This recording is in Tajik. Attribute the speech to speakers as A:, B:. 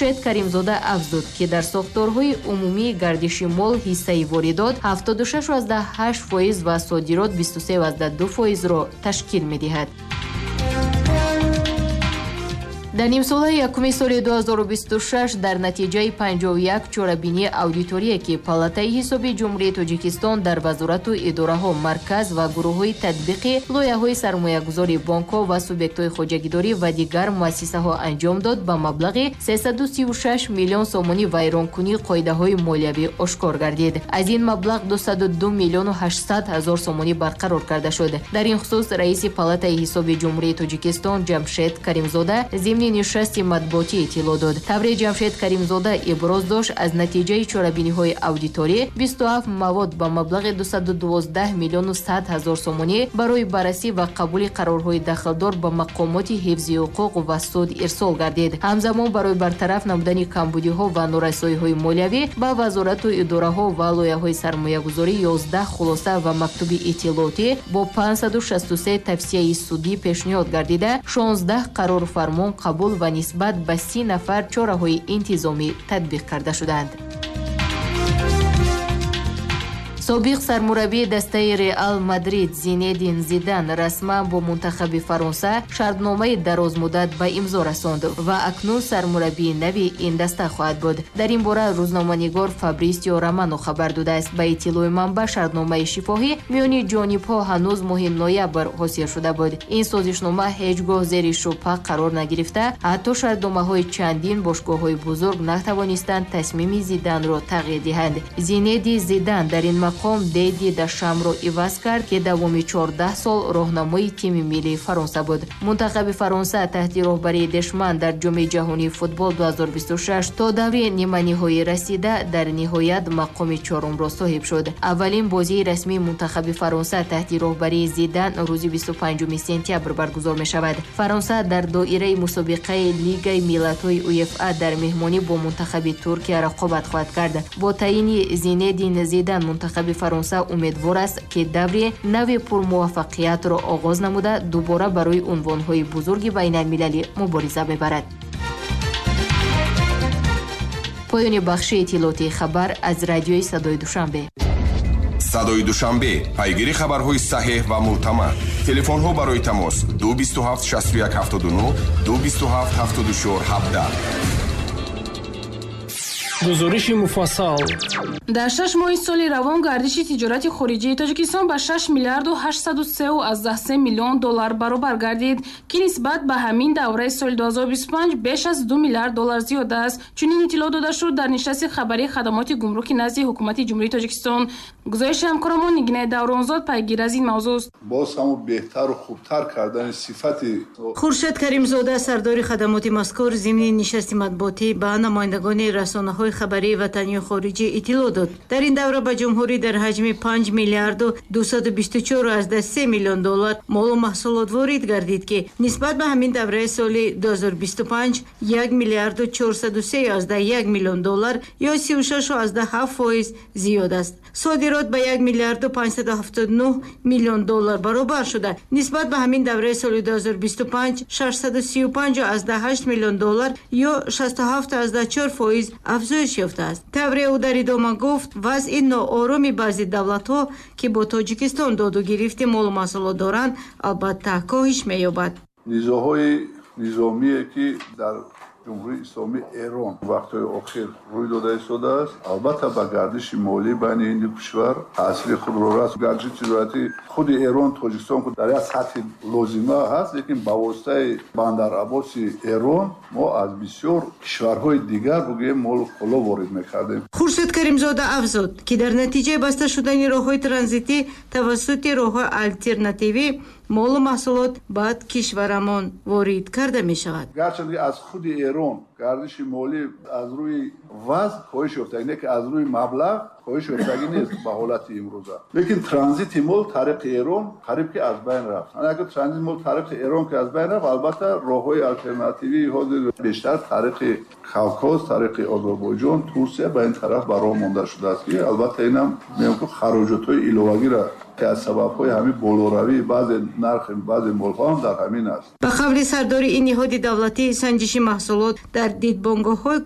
A: Хуршед Каримзода афзуд, ки дар сохторҳои умумии гардиши мол ҳиссаи воридот 76,8% ва содирот 23,2%-ро ташкил медиҳад. Дар нимсолаи якуми соли 2026 дар натиҷаи 51 чорабинии аудиторие, ки Палатаи ҳисоби Ҷумҳурии Тоҷикистон дар вазорату идораҳо, марказ ва гурӯҳҳои татбиқи лоиҳаҳои сармоягузории бонкҳо ва субъектҳои хоҷагидорӣ ва дигар муассисаҳо анҷом дод, ба маблағи 336 миллион сомонӣ вайронкунии қоидаҳои молиявӣ ошкор гардид. Аз ин маблағ 202 миллиону 800 ҳазор сомонӣ барқарор карда шуд. Дар ин хусус раиси Палатаи ҳисоби Ҷумҳурии Тоҷикистон Ҷамшед Каримзода зимни нишасти матбуотӣ иттилоъ дод. Тавре Ҷамшед Каримзода иброз дошт, аз натиҷаи чорабиниҳои аудиторӣ 27 мавод ба маблағи 212 миллиону 100 ҳазор сомонӣ барои баррасӣ ва қабули қарорҳои дахлдор ба мақомоти ҳифзи ҳуқуқ ва суд ирсол гардид. Ҳамзамон барои бартараф намудани камбудиҳо ва норасоиҳои молиявӣ ба вазорату идораҳо ва лоиҳаҳои сармоягузорӣ 11 хулоса ва мактуби иттилоотӣ бо 563 тавсияи судӣ пешниҳод гардида, 16 қарору фармон қабул ва нисбат ба 30 нафар чораҳои интизомӣ татбиқ карда шуданд. Собиқ сармураббии дастаи Реал Мадрид Зинедин Зидан расман бо мунтахаби Фаронса шартномаи дарозмуддат ба имзо расонд ва акнун сармураббии нави ин даста хоҳад буд. Дар ин бора рӯзноманигор Фабрисио Романо хабар додааст. Ба иттилои манбаъ, шартномаи шифоҳӣ миёни ҷонибҳо ҳанӯз моҳи ноябр ҳосил шуда буд. Ин созишнома ҳеҷ гоҳ зери шубҳа қарор нагирифта, ҳатто шартномаҳои чандин бошгоҳҳои бузург натавонистанд тасмими Зиданро тағйир диҳанд. Зинеди Зидан дар ин мақом Деди Дашамро иваз кард, ки давоми 14 сол роҳнамои тими миллии Фаронса буд. Мунтахаби Фаронса таҳти роҳбарии Дешман дар Ҷоми ҷаҳонии футбол 2026 то даври ниманиҳоӣ расида, дар ниҳоят мақоми чорумро соҳиб шуд. Аввалин бозии расмии мунтахаби Фаронса таҳти роҳбарии Зидан рӯзи 25 сентябр баргузор мешавад. Фаронса дар доираи мусобиқаи Лигаи миллатҳои УЕФА дар меҳмонӣ бо мунтахаби Туркия рақобат хоҳад кард. Бо таъйини Зинедин Зидан мунтахаби Фаронса умедвор аст, ки даври нави пурмуваффақиятро оғоз намуда, дубора барои унвонҳои бузурги байналмилалӣ мубориза мебарад. Поёни бахши иттилоотии хабар аз радиои Садои Душанбе.
B: Садои Душанбе, пайгири хабарҳои саҳеҳ ва мӯътамад. Телефонҳо барои тамос 227 61 79, 227 74 17.
C: Гузориши муфассал.
D: Дар 6 моҳи соли равон гардиши тиҷорати хориҷии Тоҷикистон ба 6 миллиарду 803,3 миллион доллар баробар гардид, ки нисбат ба ҳамин давраи соли 2025 беш аз 2 миллиард доллар зиёд аст. Чунин иттилоъ дода шуд дар нишасти хабарии хадамоти гумруки назди Ҳукумати Ҷумҳурии Тоҷикистон. Гузориши ҳамкорамон Нигинаи Давронзод пайгир аз ин мавзӯст.
E: Боз ҳамун беҳтару хубтар кардани сифати
F: Хуршед Каримзода, сардори хадамоти мазкур, зимни нишасти матбуотӣ ба намояндагони расонаҳои хабарии ватанию хориҷӣ иттилоъ дод. Дар ин давра ба ҷумҳурӣ дар ҳаҷми 5 миллиарду 224,3 миллион доллар молу маҳсулот ворид гардид, ки нисбат ба ҳамин давраи соли 2025 1 миллиарду 403,1 миллион доллар ё 36,7% зиёд аст. Содирот ба 1 миллиарду 579 миллион доллар баробар шуда, нисбат ба ҳамин давраи соли 2025 635,8 миллион доллар ё 67,4% афзоиш ёфтааст. Тавре ӯ дар идома гуфт, вазъи ноороми баъзе давлатҳо, ки бо Тоҷикистон доду гирифти молу маҳсулот доранд, албатта коҳиш меёбад.
E: Низоъҳои низомие, ки дар Ҷумҳурии Исломии Эрон вақтҳои охир рӯй дода истодааст, албатта ба гардиши молӣ байни ин ду кишвар таъсири худро раст. Гардиши тиҷоратӣ худи Эрон Тоҷикистон дар як сатҳи лозима ҳаст, лекин ба воситаи Бандарабоси Эрон мо аз бисёр кишварҳои дигар бугӯем молу коло ворид мекардем.
F: Хуршед Каримзода афзуд, ки дар натиҷаи баста шудани роҳҳои транзитӣ тавассути роҳҳои алтернативӣ молу маҳсулот ба кишварамон ворид карда мешавад.
E: Гарчанде ки аз худи Эрон гардиши молӣ аз рӯи вазн коҳиш ёфтагӣ, не ки аз рӯи маблағ коҳиш ёфтагӣ нест ба ҳолати имрӯза, лекин транзити мол тариқи Эрон қариб ки аз байн рафт. Агар транзити мол тариқи Эрон ки аз байн рафт, албатта роҳҳои алтернативии ҳозир бештар тариқи Кавкоз, тариқи Озарбойҷон, Турсия ба ин тараф ба роҳ монда шудааст, ки албатта инам мегӯям, ки хароҷотҳои иловагиро, ки аз сабабҳои ҳамин болоравии баъзе нархи баъзе молҳо ҳам дар ҳамин аст.
F: Ба қавли сардори ин ниҳоди давлатӣ, санҷиши маҳсулот дар дидбонгоҳҳои